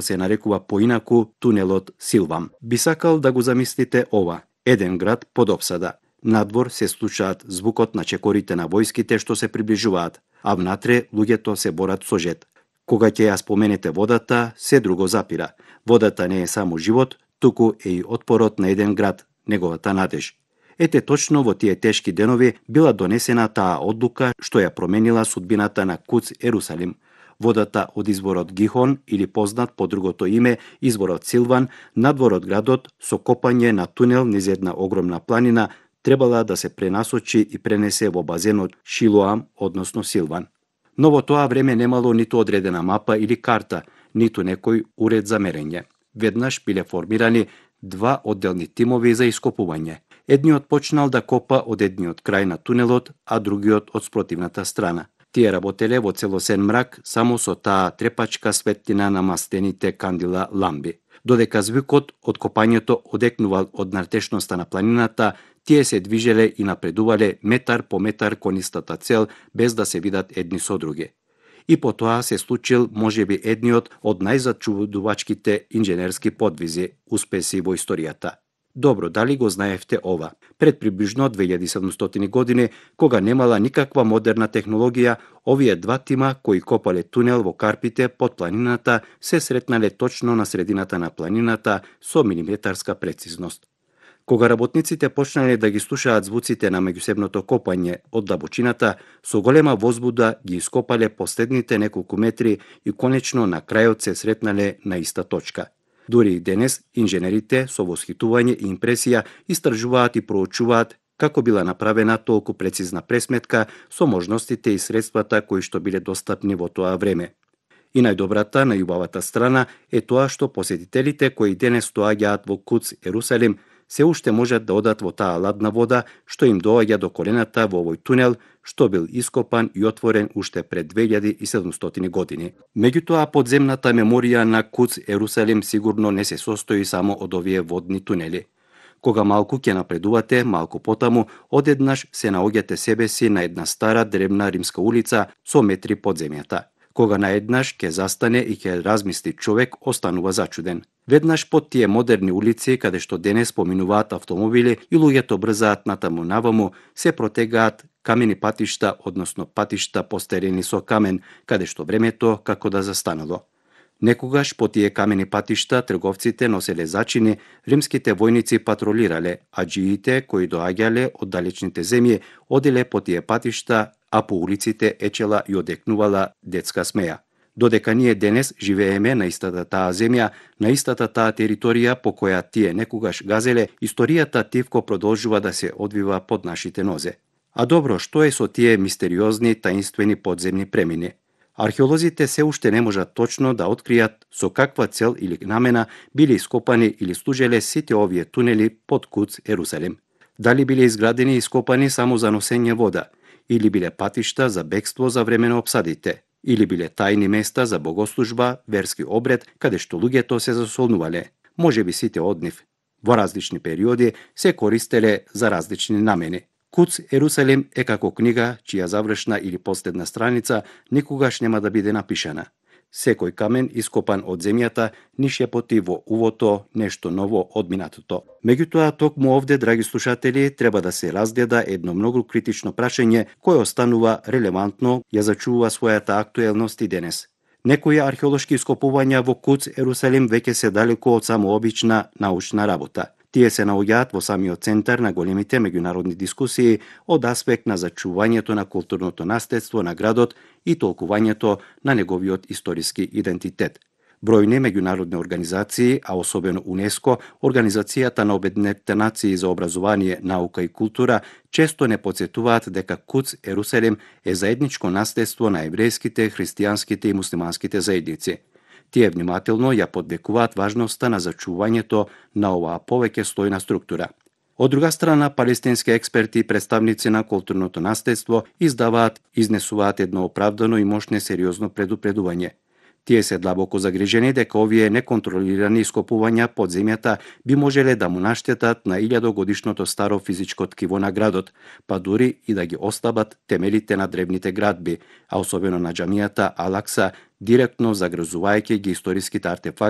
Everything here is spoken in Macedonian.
се нарекува поинаку тунелот Силвам. Би сакал да го замислите ова. Еден град под опсада. Надвор се слушаат звукот на чекорите на војските што се приближуваат, а внатре луѓето се борат со жет. Кога ќе ја споменете водата, се друго запира. Водата не е само живот, туку е и отпорот на еден град, неговата надеж. Ете точно во тие тешки денови била донесена таа одлука што ја променила судбината на Куц Ерусалим. Водата од изворот Гихон, или познат по другото име изворот Силван, надвор од градот со копање на тунел низ една огромна планина, требала да се пренасочи и пренесе во базенот Шилоам, односно Силван. Но во тоа време немало ниту одредена мапа или карта, ниту некој уред за мерење. Веднаш биле формирани два одделни тимови за ископување. Едниот почнал да копа од едниот крај на тунелот, а другиот од спротивната страна. Тие работеле во целосен мрак само со таа трепачка светлина на мастените кандила ламби. Додека звукот од копањето одекнувал од натешноста на планината, тие се движеле и напредувале метар по метар кон истата цел, без да се видат едни со други. И по тоа се случил можеби едниот од најзачудувачките инженерски подвизи, успеси во историјата. Добро, дали го знаевте ова? Пред приближно 2700 години, кога немала никаква модерна технологија, овие два тима кои копале тунел во Карпите под планината се сретнале точно на средината на планината со милиметарска прецизност. Кога работниците почнале да ги слушаат звуците на меѓусебното копање од длабочината, со голема возбуда ги ископале последните неколку метри и конечно на крајот се сретнале на иста точка. Дури и денес, инженерите со восхитување и импресија истражуваат и проучуваат како била направена толку прецизна пресметка со можностите и средствата кои што биле достапни во тоа време. И најдобрата, најубавата страна е тоа што посетителите кои денес доаѓаат во Куц Ерусалим се уште можат да одат во таа ладна вода што им доаѓа до колената во овој тунел што бил ископан и отворен уште пред 2700 години. Меѓутоа, подземната меморија на Куц Ерусалим сигурно не се состои само од овие водни тунели. Кога малку ќе напредувате, малку потаму, одеднаш се наоѓате себе си на една стара древна римска улица со метри под земјата. Кога наеднаш ќе застане и ќе размисли човек, останува зачуден. Веднаш под тие модерни улици, каде што денес поминуваат автомобили и луѓето брзаат натаму наваму, се протегаат камени патишта, односно патишта постерени со камен, каде што времето како да застанало. Некогаш по тие камени патишта трговците носеле зачини, римските војници патролирале, а джиите кои доаѓале од далечните земји оделе по тие патишта, а по улиците ечела и одекнувала детска смеја. Додека ние денес живееме на истата таа земја, на истата таа територија по која тие некогаш газеле, историјата тивко продолжува да се одвива под нашите нозе. А добро, што е со тие мистериозни, таинствени подземни премини? Археолозите се уште не можат точно да откријат со каква цел или намена биле ископани или служеле сите овие тунели под Куц Ерусалим. Дали биле изградени и ископани само за носење вода, или биле патишта за бегство за време на опсадите, или биле тајни места за богослужба, верски обред, каде што луѓето се засолнувале. Може би сите од нив. Во различни периоди се користеле за различни намени. Куц Ерусалим е како книга чија завршна или последна страница никогаш нема да биде напишана. Секој камен ископан од земјата ни шепоти во увото нешто ново од минатото. Меѓутоа, токму овде, драги слушатели, треба да се разгледа едно многу критично прашање кое останува релевантно, ја зачува својата актуелност и денес. Некои археолошки ископувања во Куц Ерусалим веќе се далеко од само обична научна работа. Тие се наоѓаат во самиот центар на големите меѓународни дискусии од аспект на зачувањето на културното наследство на градот и толкувањето на неговиот историски идентитет. Бројни меѓународни организации, а особено УНЕСКО, Организацијата на Обединетите нации за образование, наука и култура, често не потсетуваат дека Куц Ерусалим е заедничко наследство на еврејските, христијанските и муслиманските заедници. Тие внимателно ја подвекуваат важноста на зачувањето на оваа повеќе слојна структура. Од друга страна, палестински експерти и представници на културното наследство изнесуваат едно оправдано и мощно сериозно предупредување. Тие се длабоко загрижени дека овие неконтролирани ископувања под земјата би можеле да му наштетат на 1000-годишното старо физичко ткиво на градот, па дури и да ги ослабат темелите на древните градби, а особено на џамијата Алакса, директно загрозувајќи ги историските артефакти